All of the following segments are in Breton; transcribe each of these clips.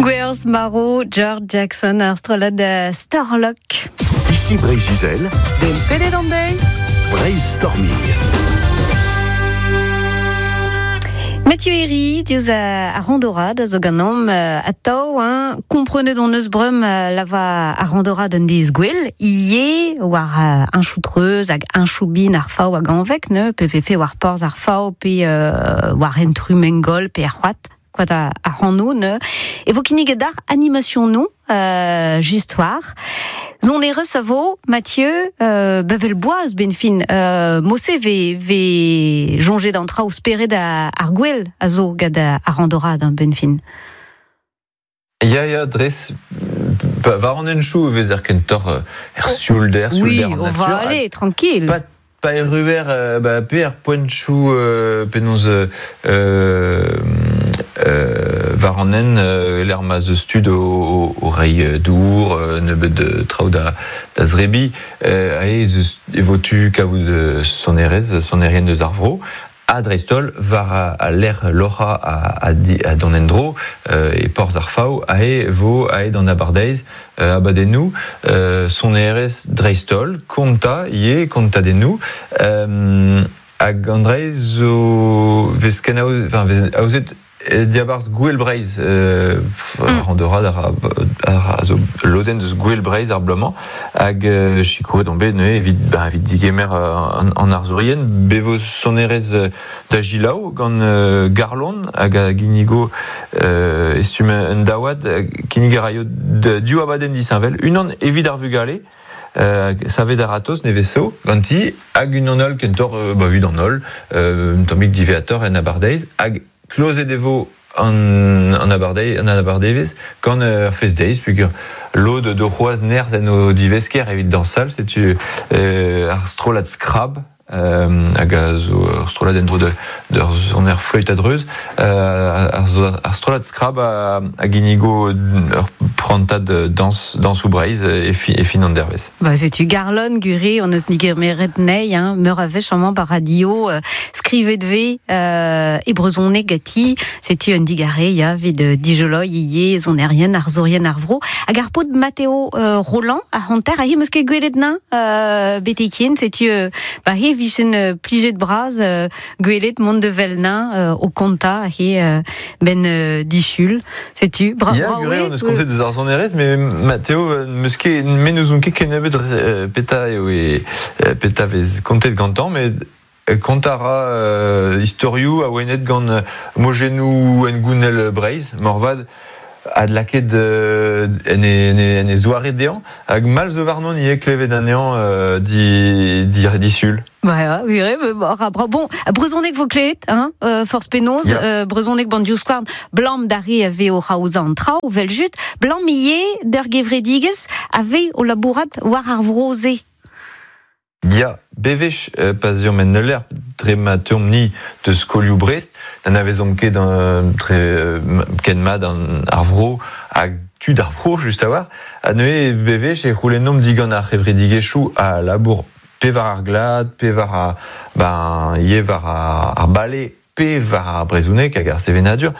Gwerz Maro, George Jackson, ar strollad Starlock. Ici Breizh-Izel. Den pedet an deiz. Breizh Storming. Mathieu Herry, diouzh ar randorad a zo ganeomp atav, hein. Komprenet hon eus breum lava ar randorad un deiz gwell, ivez war un choutreuz hag un choubin ar fav hag anvek, ne, pe vefe war porzh ar fav pe war hent Rumengol pe ar c'hoad, koad ar c'hano, ne. E vo kinniget d'ar animationoù just war. Sonerezh a vo, Mathieu, bevel boaz ben fin, mose ve, ve soñjet an traoù spered ar gwell a zo gant ar randorad, hein, ben fin. Ya, ya, dres, war an henchoù e vezer kentoc'h er sioulder, Oui, sioulder an on va natur. aller, tranquille. Pa, pa erruer, ba, pe er poenchoù penaos war an hent, lec'h ma 'z eus tud o reiñ dour, nebeut traoù da zrebiñ, aze ez eus e vo tu kavout sonerezh, sonerien eus ar vro, ha dreist-holl war al lec'h loc'hañ ha dont en-dro e porzh ar Faou, aze vo aet d'an abardaez abadennoù, sonerezh dreist-holl, kontañ ivez, kontadennoù, hag an dra zo vez kenaoz, enfin, vez aozet diabarzh Gouel Breizh, randorad a zo lodenn deus Gouel Breizh ar bloaz-mañ, hag sikouret on bet neuze evit, ba, evit digemer an arzourien. Bet vo sonerezh da Gilaou gant Garlon hag a ginnigo e stumm un daouad, kinnig a raio div abadenn disheñvel, unan evit ar vugale, savet a-ratozh nevez zo ganti, hag unan all kentoc'h ba, evit an holl, un tammig diwezhatoc'h en abardaez, hag klozet e vo an, an abardaez, an abardaevezh gant ur fest-deiz, peogwir lod do c'hoazh nerzh en o divesker evit dañsal, setu ar strollad Skrab, hag a zo ur strollad en-dro d'ur soner fleüt a-dreuz. Ar strollad Skrab a ginnigo ur prantad dañs, dañsoù Breizh e fin an dervezh. Ba, setu Garlon Guré, on eus digemeret nei, hein, meur a wech amañ ba radio, skrivet vez e brezhoneg ganti, setu un digarez ya, evit dijoloiñ ivez sonerien, arzourien ar vro. Hag ar paotr Matteo Roland a hanter, ha hi 'm eus ket gwelet nañ betek ken, setu ba he vijen plijet bras gwelet mont de vel nañ o kontañ he ben disul. Setu, bra, Ya, bra gure, oe, on eus kontet deus ar sonerezh, mais Matteo, n'eus ket, me n'ouzon ket kennebeut petra eo e, petra vez kontet gantañ, met kontañ a ra istorioù awenet gant mojennoù hengounel Breizh, moarvat adlakaet en e, en e, en e zoare dezhañ, hag mall zo warnon ivez klevet anezhañ di, di, disul. Ba, oui, oui, ra bra. Bon, brezhoneg vo klevet, hein, forzh penaos, brezhoneg ban divskouarn, blam d'ar re a vez o c'haozañ an traoù, vel just, blam ivez d'ur gevredigezh a vez o labourat war ar vro-se. Ya, bewech pa 'z eomp en ul lec'h dre ma teuomp-ni deus skolioù Brest, n'anavezomp ket dre ken mat an, ar vro hag tud ar vro just a-walc'h. Ha neuze bewech e c'houlennomp digant ar c'hevredigezhioù a labour pe war ar glad, pe war ar, ben, ivez war ar bale, pe war ar brezhoneg hag ar sevenadur,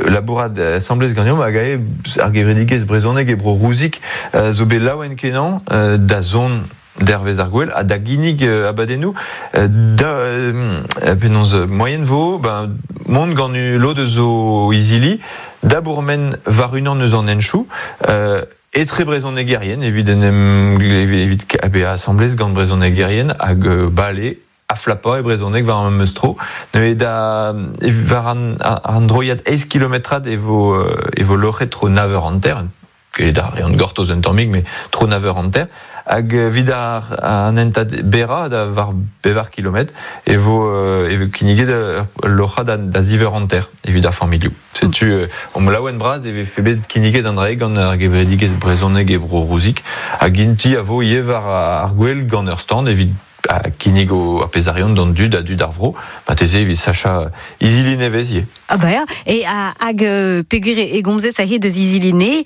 labourat asambles ganeomp hag ae ar gevredigezh brezhoneg e bro Rouzig zo bet laouen-kenañ da zont dervezh ar gouel ha da ginnig abadennoù da penaos moaien vo ben, mont gant lod eus o izili da bourmen war unan eus an henchoù etre brezhonegerien evit en em evit bezañ asambles gant brezhonegerien hag bale ha flapañ e brezhoneg war ar memes tro. Neuze da war an, an droiad eizh kilometrad e vo e vo loc'het tro nav eur hanter, ket da reont gortoz un tammig, mais tro nav eur hanter. Hag evit ar an hentad berrañ da war pevar kilometr e vo e vo kinniget ul loc'hañ da, da ziv eur hanter evit ar familhoù. Setu omp laouen bras e vefe bet kinniget an dra gant ar gevredigezh brezhoneg e Bro Rouzig hag inti a vo ivez war ar gwel gant ur stand evit a kinnig o ar pezarion d'an dud a dud ar vro, ma teze evit sacha izili nevez ivez. Ah ba ya, e a, hag peogwir e gomzez aze deus izili ne,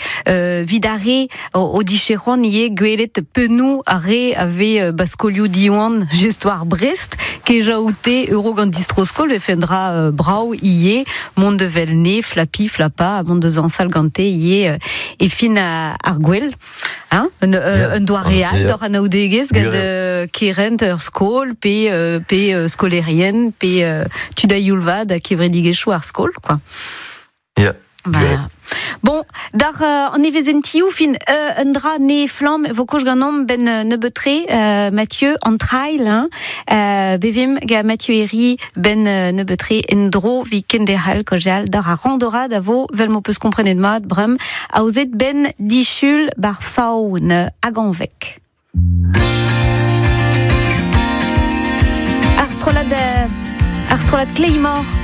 vid ar re o dije c'hoant ivez gwelet pennoù ar re a vez ba skolioù Diwan just war Brest, kejañ oute euro gant distro-skol vefe un dra brav ivez, mont da wel ne, flapi, flapa, mont da zañsal gante ivez e fin ar gwel. Hein? Un, un doare all d'hor anaoudegezh gant kerent ur skol pe skolerien pe tud a youl vat ha kevredigezhioù ar skol quoi. Bah. Bon, d'ar an evezentioù fin un dra ne flamm vo koch ganeomp ben nebeut-tre Mathieu an trail hein, bevim ga Mathieu Herry ben nebeut-tre en dro vi kenderc'hel kaozeal d'ar ar randorad a vo vel m'ho peus komprenet mat brem aozet ben disul bar faun hag anvek. Ar strollad Claymore.